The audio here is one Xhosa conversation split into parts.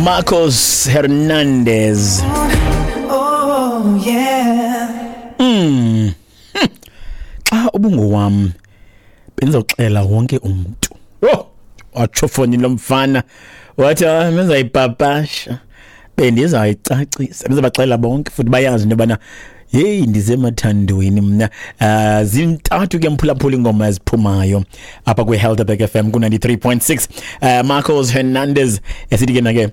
Marcos Hernandez. Oh yeah. Xa ubungowam bendizawuxela wonke umntu. Oh, watsho foni lo mfana wathi, "Ah, bendizayipapasha, bendizayicacisa, bendizabaxelela bonke futhi bayazi into yobana heyi, ndisemathandweni mna." Zintathu ke, mphulaphula, ingoma eziphumayo apha kwi-Helderberg FM ku-93.6. Marcos Hernandez esithi ke nake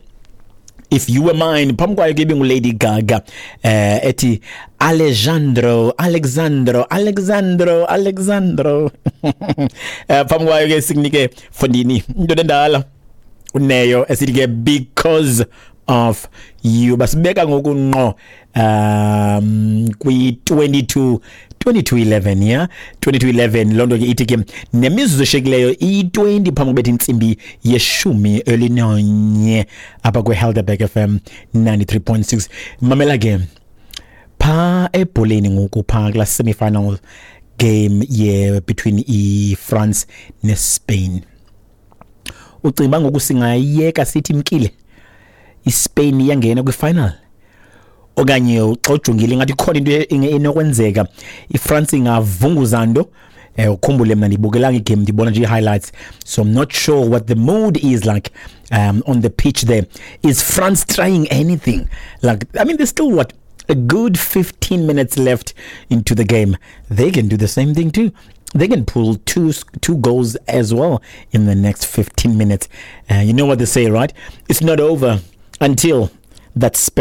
"If You Were Mine". Phambi kwayo ke ibinguLady Gaga ethi "Alejandro, Alexandro, Alexandro, Alexandro". Phambi kwayo ke sikunike fondini into endala uneyo esithi ke "Because of You". Basibeka ngoku ngqo kwi 22 22:11, yeah, 22:11. Loo nto ke ithi ke nemizuzu eshekileyo iyi-20 phambi kubetha intsimbi ye-11 apha kwi-Helderberg FM 93.6. Mamela ke, phaa ebholeni ngoku, phaa kulaa semi-final game ye between i-France neSpain, ucinga ngoku singayiyeka sithi imkile iSpain, iyangena kwi-final, okanye xa ujongile ingathi ikhona into enokwenzeka, iFrance ingavunguza nto? Ukhumbule mna ndibukelanga igame, ndibona nje i-highlights, so I'm not sure what the mood is like on the pitch there. Is France trying anything? Like, I mean, there's still, what, a good 15 minutes left into the game. They can do the same thing too. They can pull two goals as well in the next 15 minutes. You know what they say, right? It's not over until that special